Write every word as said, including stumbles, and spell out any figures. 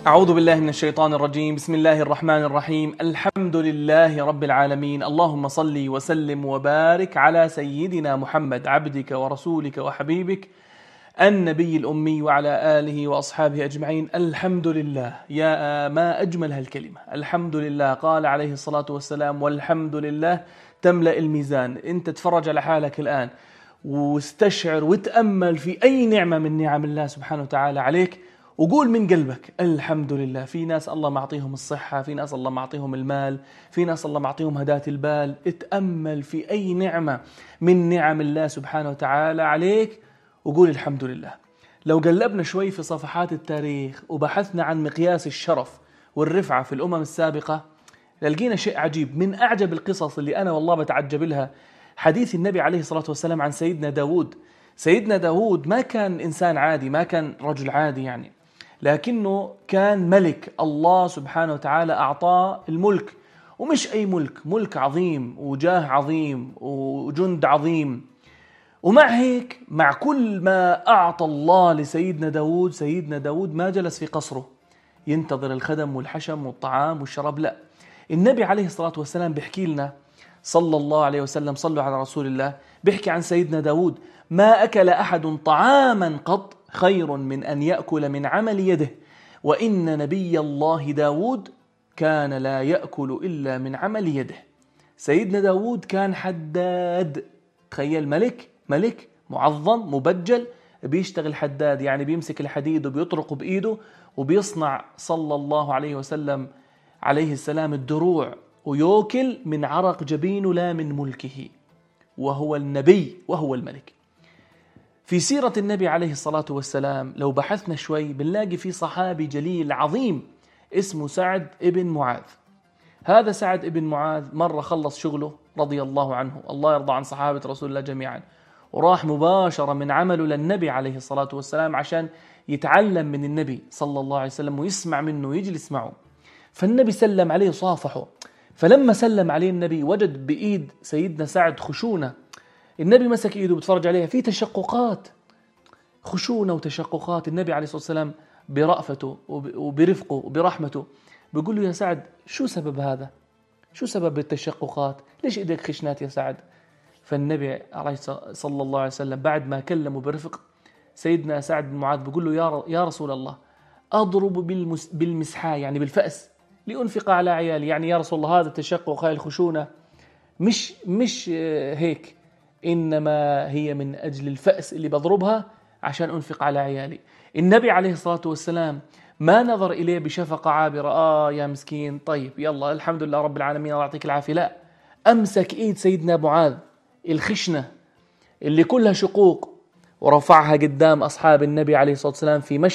أعوذ بالله من الشيطان الرجيم. بسم الله الرحمن الرحيم. الحمد لله رب العالمين. اللهم صل وسلم وبارك على سيدنا محمد عبدك ورسولك وحبيبك النبي الأمي وعلى آله وأصحابه أجمعين. الحمد لله، يا ما أجمل هالكلمة، الحمد لله. قال عليه الصلاة والسلام: والحمد لله تملأ الميزان. أنت تفرج على حالك الآن واستشعر وتأمل في أي نعمة من نعم الله سبحانه وتعالى عليك، وقول من قلبك الحمد لله. في ناس الله معطيهم الصحة، في ناس الله معطيهم المال، في ناس الله معطيهم هداة البال. اتأمل في أي نعمة من نعم الله سبحانه وتعالى عليك وقول الحمد لله. لو قلبنا شوي في صفحات التاريخ وبحثنا عن مقياس الشرف والرفعة في الأمم السابقة، لقينا شيء عجيب. من أعجب القصص اللي أنا والله بتعجب لها حديث النبي عليه الصلاة والسلام عن سيدنا داود. سيدنا داود ما كان إنسان عادي، ما كان رجل عادي يعني، لكنه كان ملك. الله سبحانه وتعالى أعطاه الملك، ومش أي ملك، ملك عظيم وجاه عظيم وجند عظيم. ومع هيك، مع كل ما أعطى الله لسيدنا داود، سيدنا داود ما جلس في قصره ينتظر الخدم والحشم والطعام والشراب. لا، النبي عليه الصلاة والسلام بيحكي لنا صلى الله عليه وسلم، صلوا على رسول الله، بيحكي عن سيدنا داود: ما أكل أحد طعاما قط خير من أن يأكل من عمل يده، وإن نبي الله داود كان لا يأكل إلا من عمل يده. سيدنا داود كان حداد. تخيل، ملك ملك معظم مبجل بيشتغل حداد، يعني بيمسك الحديد وبيطرقه بإيده وبيصنع صلى الله عليه وسلم عليه السلام الدروع، ويوكل من عرق جبينه لا من ملكه، وهو النبي وهو الملك. في سيرة النبي عليه الصلاة والسلام لو بحثنا شوي بنلاقي في صحابي جليل عظيم اسمه سعد ابن معاذ. هذا سعد ابن معاذ مرة خلص شغله رضي الله عنه، الله يرضى عن صحابة رسول الله جميعا، وراح مباشرة من عمله للنبي عليه الصلاة والسلام عشان يتعلم من النبي صلى الله عليه وسلم ويسمع منه ويجلس معه. فالنبي سلم عليه صافحه، فلما سلم عليه النبي وجد بإيد سيدنا سعد خشونة. النبي مسك إيده بتفرج عليها في تشققات، خشونة وتشققات. النبي عليه الصلاة والسلام برأفته وبرفقه وبرحمته بيقول له: يا سعد، شو سبب هذا؟ شو سبب التشققات؟ ليش إيدك خشنات يا سعد؟ فالنبي صلى الله عليه وسلم بعد ما كلمه برفق، سيدنا سعد بن معاذ بيقول له: يا رسول الله، أضرب بالمسحاء، يعني بالفأس، لأنفق على عيالي. يعني يا رسول الله، هذا التشقق، هاي الخشونة مش مش هيك، إنما هي من أجل الفأس اللي بضربها عشان أنفق على عيالي. النبي عليه الصلاة والسلام ما نظر إليه بشفقة عابرة: آه يا مسكين، طيب يلا الحمد لله رب العالمين الله يعطيك العافية. لا، أمسك إيد سيدنا معاذ الخشنة اللي كلها شقوق ورفعها قدام أصحاب النبي عليه الصلاة والسلام في مشهد